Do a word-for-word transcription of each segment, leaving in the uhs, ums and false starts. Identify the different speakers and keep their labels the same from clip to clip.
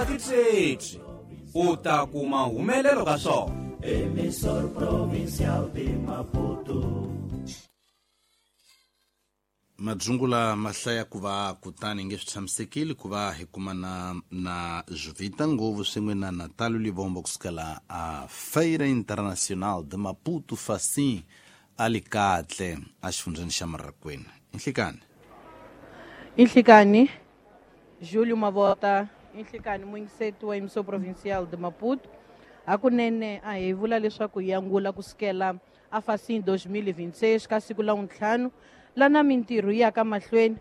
Speaker 1: nga titshetswi u ta kuma humelelo ka swona.
Speaker 2: Emissor Provincial de Maputo.
Speaker 3: Madzungula mahlaya ku va kutani nge swi tshamisekile ku va hi kumana na Jovita Nguvu swin'we na Natalio Livombo kusukela a Feira Internacional de Maputo Facim Alikatle a xifundzheni xa Marrakwena. Inhlikani.
Speaker 4: Inhlikani Júlio Mavota, inhlikani muyingiseti wa Emissor Provincial de Maputo. Hakunene a hi vula leswaku hi angula kusukela a Facim dois mil e vinte e seis ka siku la ntlhanu lana mintirho yi ya ka mahlweni,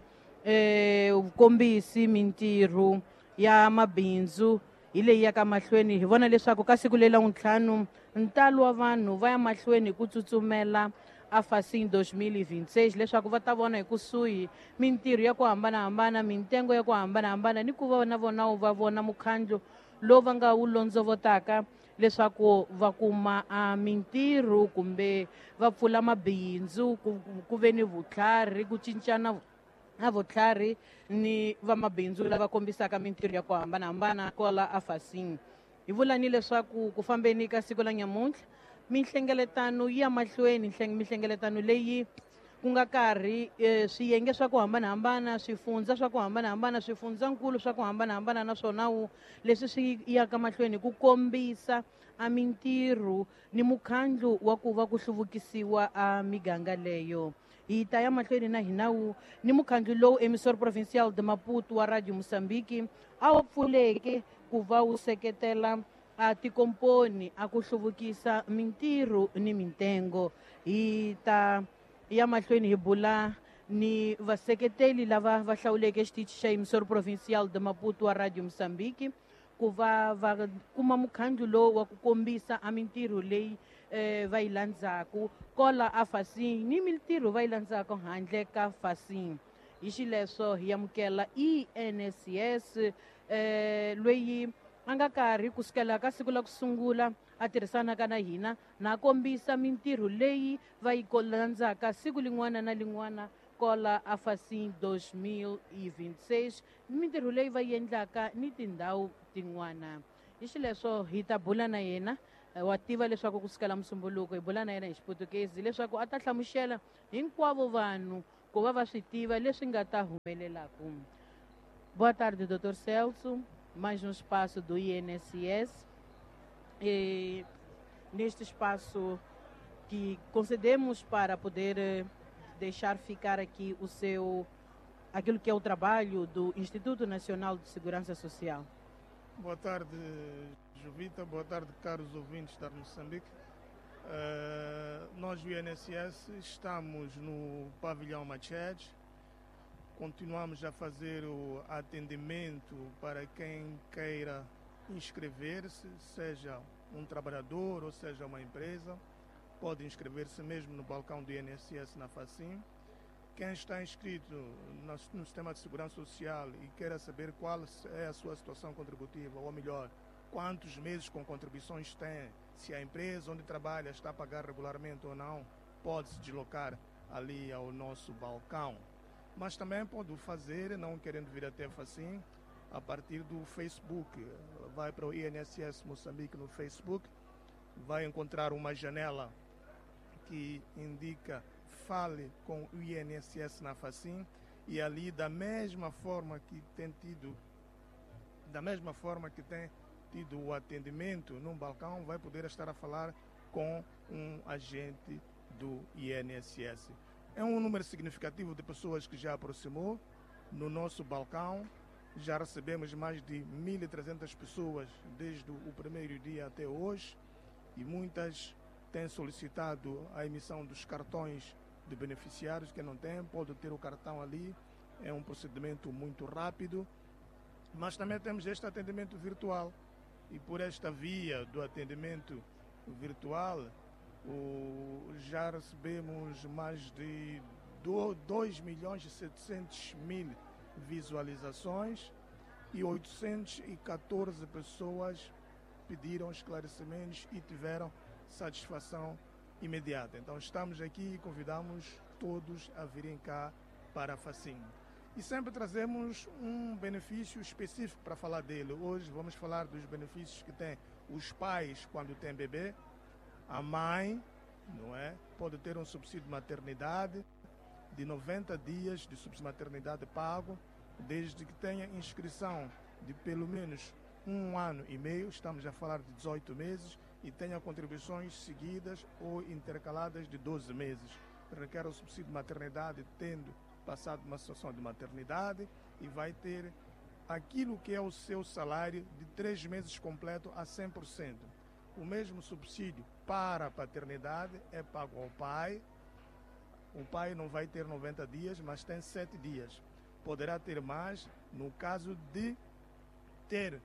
Speaker 4: eh vukombisi mintirho ya mabindzu hi leyi ya ka mahlweni. Hi vona leswaku ka siku leri la ntlhanu ntalo wa vanhu va ya mahlweni ku tsutsumela a Facim dois mil e vinte e seis leswaku va ta vona hi kusuhi mintirho ya ku hambanahambana, mintengo ya ku hambanahambana ni ku va na vona va vona mukhandlu lowu va nga wu londzovotaka leswaku va kuma a mintirho kumbe va pfula mabindzu, ku, ku ve ni vutlhari, ku cincana na vutlhari ni vamabindzu lava kombisaka mintirho ya ku hambanahambana kwala a Facim. Hi vula ni leswaku ku fambeni ka siku la nyamuntlha mihlengeletano yi ya mahlweni, mihlengeletano leyi ku nga karhi eh, swiyenge swa ku hambanahambana, swifundza swa ku hambanahambana, swifundzankulu swa ku hambanahambana naswona wu leswi swi yaka mahlweni ku kombisa a mintirho ni mukhandlu wa ku va ku hluvukisiwa a miganga leyo. Hi ta ya mahlweni na hina wu ni mukhandlu lowu Emissor Provincial de Maputo wa Radio Mozambique a wu pfuleke ku va wu seketela a tikomponi a ku hluvukisa mintirho ni mintengo. Hi ta ya mahlweni hi bula ni vaseketeli lava va hlawuleke xitichi xa Emissor Provincial de Maputo wa Radio Mozambique ku va va kuma mukhandlu lowu wa ku kombisa a mintirho leyi eh, va yi landzaku kola a Facim ni mintirho va yi landzaku handle ka Facim. Hi xileswo hi amukela I N S S eh, loyi a nga karhi kusukela ka siku la ku sungula a tirhisanaka na hina na kombisa mintirho leyi va yi landzaka siku lin'wana na lin'wana kola a Facim dois mil e vinte e seis, mintirho leyi va yi endlaka ni tindhawu tin'wana. Hi xileswo hi ta bula na yena, wa tiva leswaku kusukela Musumbuluko hi bula na yena hi Xiputukezi leswaku a ta hlamusela hinkwavo vanhu ku va va swi tiva leswi nga ta humelelaku. Boa tarde, doutor Celso. Mais um espaço do I N S S. E neste espaço que concedemos para poder deixar ficar aqui o seu, aquilo que é o trabalho do Instituto Nacional de Segurança Social.
Speaker 5: Boa tarde, Jovita. Boa tarde, caros ouvintes da Moçambique. Uh, nós, do I N S S, estamos no pavilhão Machete. Continuamos a fazer o atendimento para quem queira inscrever-se, seja um trabalhador ou seja uma empresa. Pode inscrever-se mesmo no balcão do I N S S na Facim. Quem está inscrito no sistema de segurança social e queira saber qual é a sua situação contributiva, ou melhor, quantos meses com contribuições tem, se a empresa onde trabalha está a pagar regularmente ou não, pode se deslocar ali ao nosso balcão. Mas também pode fazer, não querendo vir até Facim, a partir do Facebook. Vai para o I N S S Moçambique no Facebook, vai encontrar uma janela que indica fale com o I N S S na Facim, e ali, da mesma forma que tem tido, da mesma forma que tem tido o atendimento num balcão, vai poder estar a falar com um agente do I N S S. É um número significativo de pessoas que já aproximou no nosso balcão. Já recebemos mais de mil e trezentas pessoas desde o primeiro dia até hoje, e muitas têm solicitado a emissão dos cartões de beneficiários. Quem não tem pode ter o cartão ali, é um procedimento muito rápido. Mas também temos este atendimento virtual, e por esta via do atendimento virtual o, já recebemos mais de dois milhões e setecentos mil visualizações e oitocentas e quatorze pessoas pediram esclarecimentos e tiveram satisfação imediata. Então estamos aqui e convidamos todos a virem cá para a Facim. E sempre trazemos um benefício específico para falar dele. Hoje vamos falar dos benefícios que têm os pais quando têm bebê. A mãe, não é? Pode ter um subsídio de maternidade de noventa dias de subsídio de maternidade pago, desde que tenha inscrição de pelo menos um ano e meio, estamos a falar de dezoito meses, e tenha contribuições seguidas ou intercaladas de doze meses. Requer o subsídio de maternidade tendo passado uma situação de maternidade e vai ter aquilo que é o seu salário de três meses completo a cem por cento. O mesmo subsídio para a paternidade é pago ao pai. O pai não vai ter noventa dias, mas tem sete dias. Poderá ter mais no caso de ter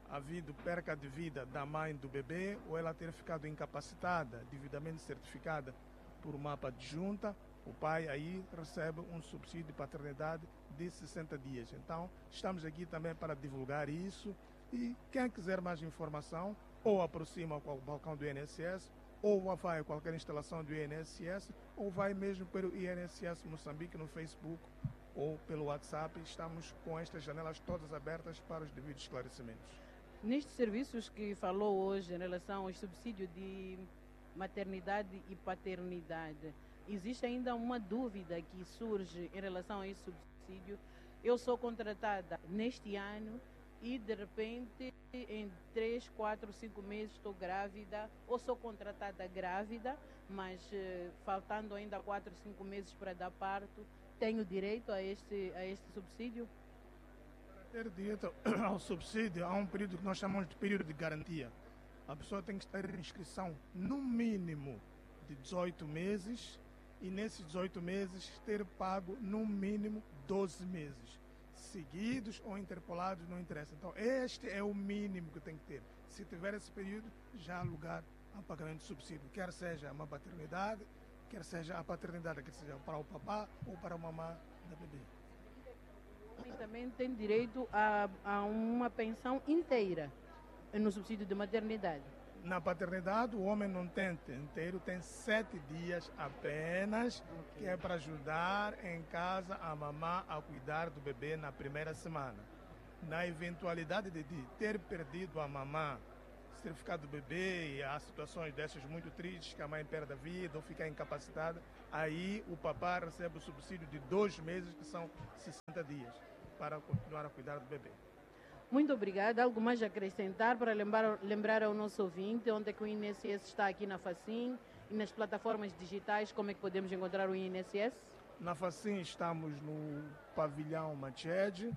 Speaker 5: havido perca de vida da mãe do bebê ou ela ter ficado incapacitada, devidamente certificada por mapa adjunta. O pai aí recebe um subsídio de paternidade de sessenta dias. Então, estamos aqui também para divulgar isso. E quem quiser mais informação, ou aproxima com o balcão do I N S S, ou vai a qualquer instalação do I N S S, ou vai mesmo pelo I N S S Moçambique no Facebook ou pelo WhatsApp. Estamos com estas janelas todas abertas para os devidos esclarecimentos.
Speaker 4: Nestes serviços que falou hoje em relação ao subsídio de maternidade e paternidade, existe ainda uma dúvida que surge em relação a esse subsídio. Eu sou contratada neste ano e, de repente, em três, quatro, cinco meses estou grávida, ou sou contratada grávida, mas eh, faltando ainda quatro, cinco meses para dar parto, tenho direito a este, a este subsídio?
Speaker 5: Para ter direito ao subsídio, há um período que nós chamamos de período de garantia. A pessoa tem que estar em inscrição no mínimo de dezoito meses e nesses dezoito meses ter pago no mínimo doze meses. Seguidos ou interpolados, não interessa. Então, este é o mínimo que tem que ter. Se tiver esse período, já há lugar a pagamento de subsídio, quer seja uma paternidade, quer seja a paternidade, quer seja para o papá ou para a mamã da bebê.
Speaker 4: O homem também tem direito a, a uma pensão inteira no subsídio de maternidade.
Speaker 5: Na paternidade, o homem não tem inteiro, tem sete dias apenas, okay, que é para ajudar em casa a mamã a cuidar do bebê na primeira semana. Na eventualidade de ter perdido a mamã, certificado do bebê, e há situações dessas muito tristes, que a mãe perde a vida ou fica incapacitada, aí o papá recebe o subsídio de dois meses, que são sessenta dias, para continuar a cuidar do bebê.
Speaker 4: Muito obrigada. Algo mais a acrescentar para lembrar, lembrar ao nosso ouvinte onde é que o I N S S está aqui na Facim e nas plataformas digitais, como é que podemos encontrar o I N S S?
Speaker 5: Na Facim estamos no pavilhão Machede.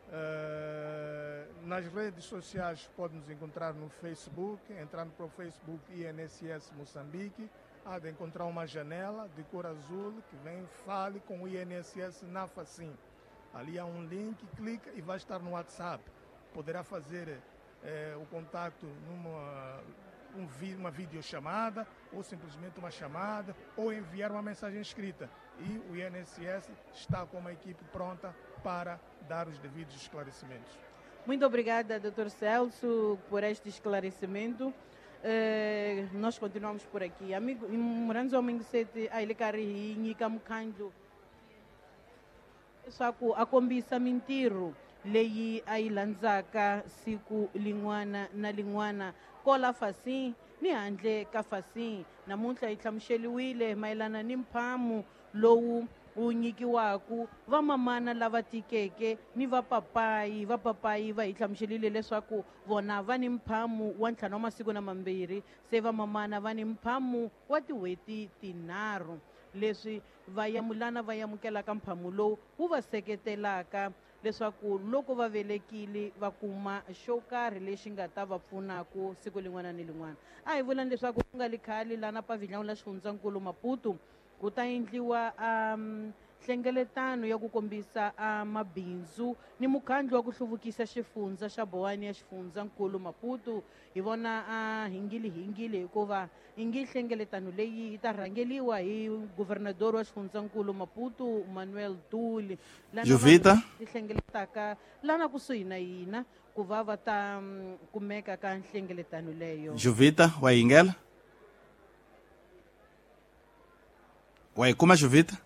Speaker 5: Uh, nas redes sociais pode nos encontrar no Facebook, entrando para o Facebook I N S S Moçambique, há de encontrar uma janela de cor azul que vem fale com o I N S S na Facim. Ali há um link, clica e vai estar no WhatsApp. Poderá fazer eh, o contato numa um, uma videochamada, ou simplesmente uma chamada, ou enviar uma mensagem escrita. E o I N S S está com uma equipe pronta para dar os devidos esclarecimentos.
Speaker 4: Muito obrigada, doutor Celso, por este esclarecimento. Eh, nós continuamos por aqui. Amigo, muranzo mingisete ailikari nyika mukhandlu leswaku a kombisa mintirho leyi a yi landzaka siku lin'wana na lin'wana kola Facim ni handle ka Facim. Namuntlha yi hlamuseriwile mayelana ni mphamu lowu wu nyikiwaku vamamana lava tikeke ni vapapayi. Vapapayi va hi hlamuserile leswaku vona va ni mphamu wa ntlhanu wa masiku na mambirhi, se vamamana va ni mphamu wa tin'hweti tinharhu. Leswi va yamulana va amukelaka mphamu lowu wu va seketelaka leswaku loko va velekile va kuma xo karhi lexi nga ta va pfunaku siku lin'wana ni lin'wana. A hi vulani leswaku ku nga li khale lana pavilhão la xifundzankulu Maputo ku ta endliwa um, nhlengeletano ya ku kombisa uh, mabindzu ni mukhandlu wa ku hluvukisa xifundza xa Boane ya xifundzankulu Maputo. Hi vona uh, hingili hingili hikuva ingi nhlengeletano leyi yi ta rhangeliwa hi governador wa xifundzankulu Maputo Manuel Tuli,
Speaker 3: Jovita
Speaker 4: ti hlengeletaka lana kusuhi na hina ku va va ta um, kumeka ka nhlengeletano leyo.
Speaker 3: Jovita wa yingela wa yi kuma Jovita?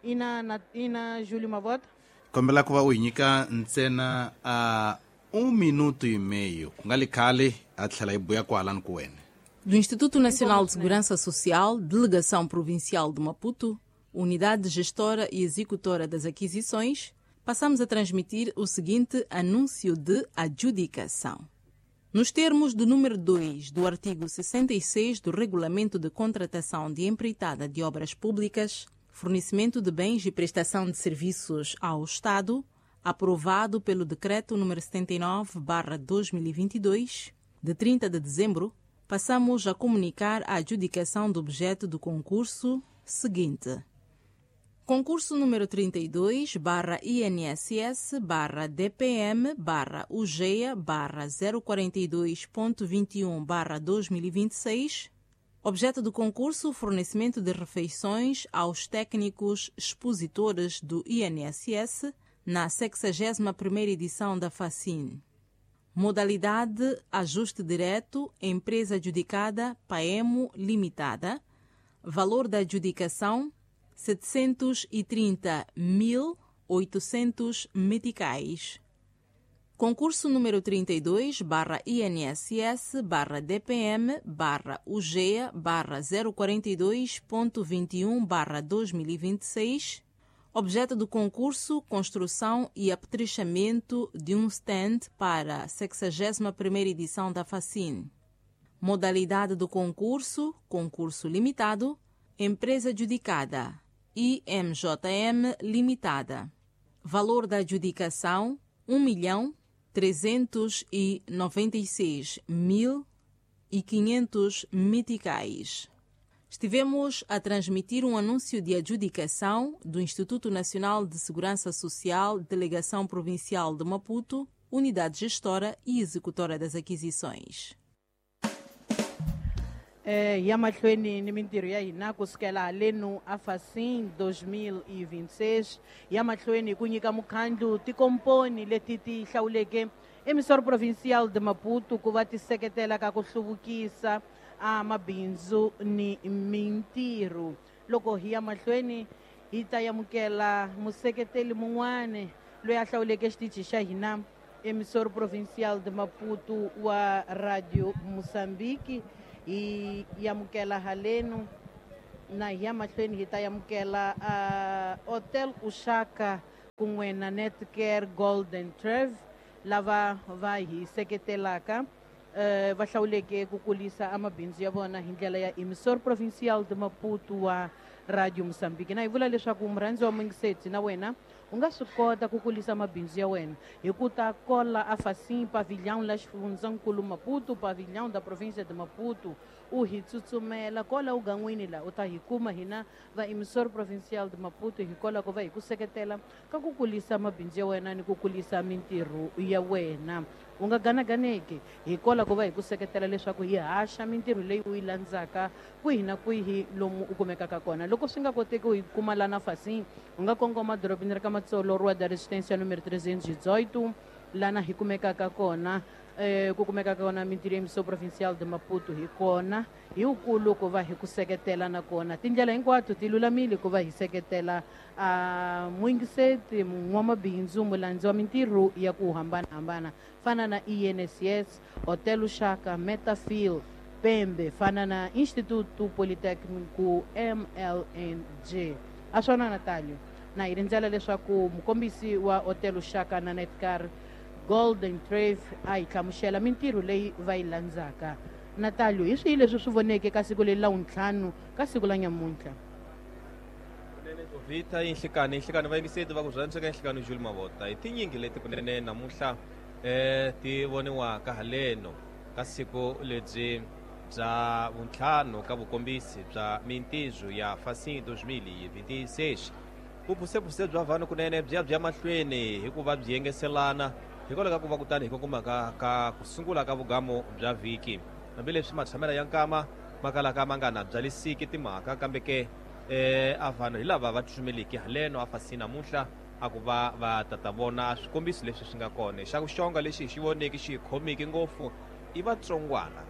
Speaker 4: Ina na ina Júlio Mavota.
Speaker 3: Kombela ku va u hi nyika ntsena a um minuto e meio ku nga li khale a tlhela hi buya kwalani ku wena.
Speaker 6: Do Instituto Nacional de Segurança Social, Delegação Provincial de Maputo, Unidade Gestora e Executora das Aquisições, passamos a transmitir o seguinte anúncio de adjudicação. Nos termos do número dois do artigo sessenta e seis do Regulamento de Contratação de Empreitada de Obras Públicas, Fornecimento de Bens e Prestação de Serviços ao Estado, aprovado pelo Decreto número setenta e nove barra dois mil e vinte e dois, de trinta de dezembro, passamos a comunicar a adjudicação do objeto do concurso seguinte. Concurso número trinta e dois barra I N S S barra D P M barra U G E A barra zero quarenta e dois ponto vinte e um barra dois mil e vinte e seis. Objeto do concurso, fornecimento de refeições aos técnicos expositores do I N S S na sexagésima primeira edição da FACIN. Modalidade ajuste direto, empresa adjudicada, Paemo Limitada. Valor da adjudicação, setecentos e trinta mil oitocentos meticais. Concurso número trinta e dois barra I N S S barra D P M barra U G E A barra zero quarenta e dois ponto vinte e um barra dois mil e vinte e seis. Objeto do concurso, construção e apetrechamento de um stand para a sexagésima primeira edição da FACIN. Modalidade do concurso, concurso limitado, empresa adjudicada, I M J M Limitada. Valor da adjudicação, um milhão trezentos e noventa e seis mil e quinhentos meticais. Estivemos a transmitir um anúncio de adjudicação do Instituto Nacional de Segurança Social, Delegação Provincial de Maputo, Unidade Gestora e Executora das Aquisições.
Speaker 4: Eh, ya mahlweni ni mintirho ya hina ku sukela halenu a FACIN dois mil e vinte e seis, ya mahlweni ku nyika mukhandlu tikomponi leti ti hlawuleke emissor provincial de Maputo ku va ti seketela ka ku hluvukisa a mabindzu ni mintirho. Loko hi ya mahlweni hi ta amukela museketeli mun'wani loyi a hlawuleke xitichi xa hina emissor provincial de Maputo wa Radio Moçambique. Hi amukela halenu na hi ya mahlweni hi ta amukela uh, Hotel Ushaka kun'we na Netcare Golden Trev lava va hi seketelaka uh, va hlawuleke ku kulisa amabindzu ya vona hi ndlela ya emissor provincial de Maputo wa Radio Moçambique. Na hi vula leswaku murhandzi wa mungiseti na wena u nga swi kota ku kulisa mabindzu ya wena hi ku ta kola a FACIN pavilhão la xifundzankulu Maputo, pavilhão da província de Maputo, u hi tsutsumela kola ugan'wini la u ta hi kuma hina va emissor provincial de Maputo hi kola ku va hi ku seketela ka ku kulisa mabindzu ya wena ni ku kulisa mintirho ya wena. U nga ganaganeki hi kola ku va hi ku seketela leswaku hi haxa mintirho leyi u yi landzaka kwihi na kwihi lomu u kumekaka kona. Loko swi nga koteki u yi kuma lana FACIN, u nga kongoma dorobeni ra ka Matsolo, Rua da Resistência número trezentos e dezoito, lana hi kumekaka kona eh, ku kumekaka kona mintirho ya emissor provincial de Maputo hi kona hi wukulu ku va hi ku seketela na kona tindlela hinkwato ti lulamile ku va hi seketela a muyingiseti n'wamabindzu mulandzi wa mintirho ya ku hambanahambana fana na I N S S, Hotel Ushaka, Metafil, Pembe, fana na Instituto Politécnico M L N G. A swona Natalio, na hi rindzela leswaku mukombisi wa Hotel Ushaka na Netcare Golden Trave a hi hlamusela mintirho leyi va yi landzaka. Natalio, hi swihi leswi swi voneke ka siku leri la wuntlhanu ka siku la nyamuntlha?
Speaker 7: Kunene Jovita, inhlikani inhlikani vayingiseti va ku rhandzeka inhlikani Jules Mavota hi tinyingi leti kunene namuntlha eh ti voniwaka haleno ka siku lebyi bya vuntlhanu ka vukombisi bya mintirho ya FACIN dois mil e vinte e seis. Vuphusepuse bya vanhu kunene byi ya byi ya mahlweni hikuva byi yengeselana hikwalaho ka ku va kutani hi kongomaka ka ku sungula ka vugamo bya vhiki. Hambileswi matshamela ya nkama ma kalaka ma nga na byalisiki timhaka kambe ke eh a vanhu hi lava va tsumeliki haleno a FACIN namuntlha a ku va va tata vona swikombiso leswi swi nga kona. Xa ku xonga lexi hi xi voneke xi hi khomeki ngopfu i vatsongwana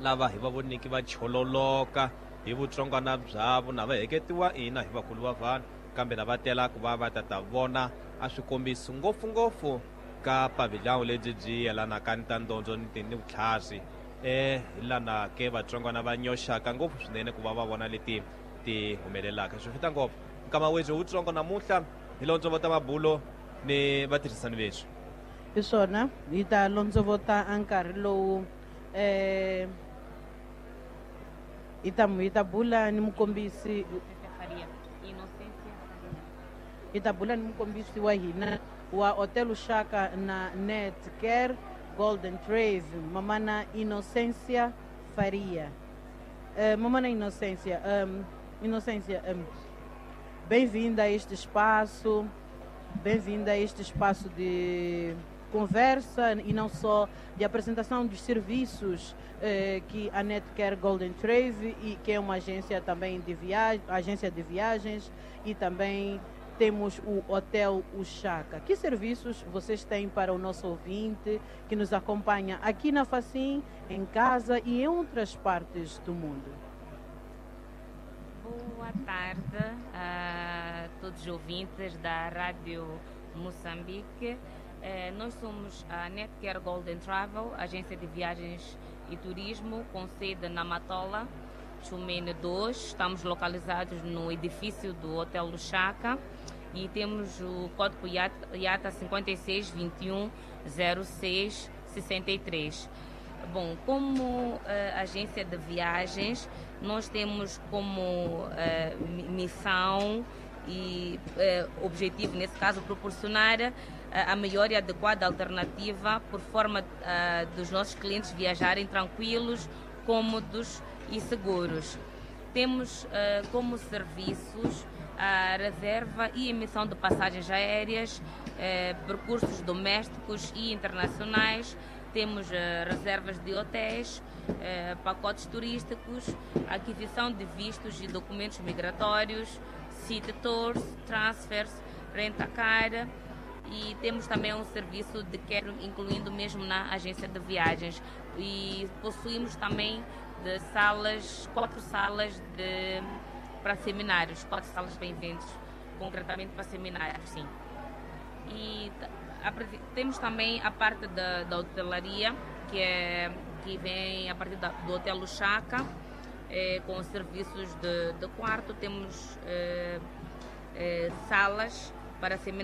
Speaker 7: lava hi va voneki va chololoka hi vutsongwana byavo na va heketiwa ina hi vakulu va vanhu Kambe na va tela ku va va ta ta vona a swikombiso ngopfungopfu ka pavilhão lebyi byi yelanaka ni ta ndondzo ni ni vutlhari eh hi lana ke vatsongwana va nyoxaka ngopfu swinene ku va va vona leti ti humelelaka. Swi fita ngopfu nkama wethu wutsongo namuntlha hi londzovota mabulo ni vatirhisani vethu.
Speaker 4: Hi swona hi ta londzovota a nkarhi lowu eh hi ta hi ta bula ni mukombisi hi ta bula ni mukombisi wa hina wa Hotel Ushaka na Netcare Golden Trave, Mamana Inocência Faria. Uh, Mamana Inocência, um, Inocência, um, bem-vinda a este espaço, bem-vinda a este espaço de conversa e não só de apresentação dos serviços eh, que a Netcare Golden Trave, e que é uma agência também de viagem, agência de viagens, e também temos o Hotel Ushaka. Que serviços vocês têm para o nosso ouvinte que nos acompanha aqui na Facim, em casa e em outras partes do mundo?
Speaker 8: Boa tarde a todos os ouvintes da Rádio Moçambique. Eh, nós somos a Netcare Golden Travel, agência de viagens e turismo com sede na Matola, Chumene dois. Estamos localizados no edifício do Hotel Ushaka e temos o código I A T A cinquenta e seis, vinte e um, zero seis, sessenta e três. Bom, como uh, agência de viagens, nós temos como uh, missão e uh, objetivo, nesse caso, proporcionar uh, a melhor e adequada alternativa por forma uh, dos nossos clientes viajarem tranquilos, cômodos e seguros. Temos uh, como serviços a reserva e emissão de passagens aéreas, eh, percursos domésticos e internacionais. Temos eh, reservas de hotéis, eh, pacotes turísticos, aquisição de vistos e documentos migratórios, city tours, transfers, rent-a-car, e temos também um serviço de catering, incluindo mesmo na agência de viagens. E possuímos também de salas, quatro salas de, para seminários, quatro salas para eventos, concretamente para seminários, sim. E a, temos também a parte da, da hotelaria, que, é, que vem a partir da, do Hotel Ushaka, é, com serviços de, de quarto. Temos é, é, salas para seminários.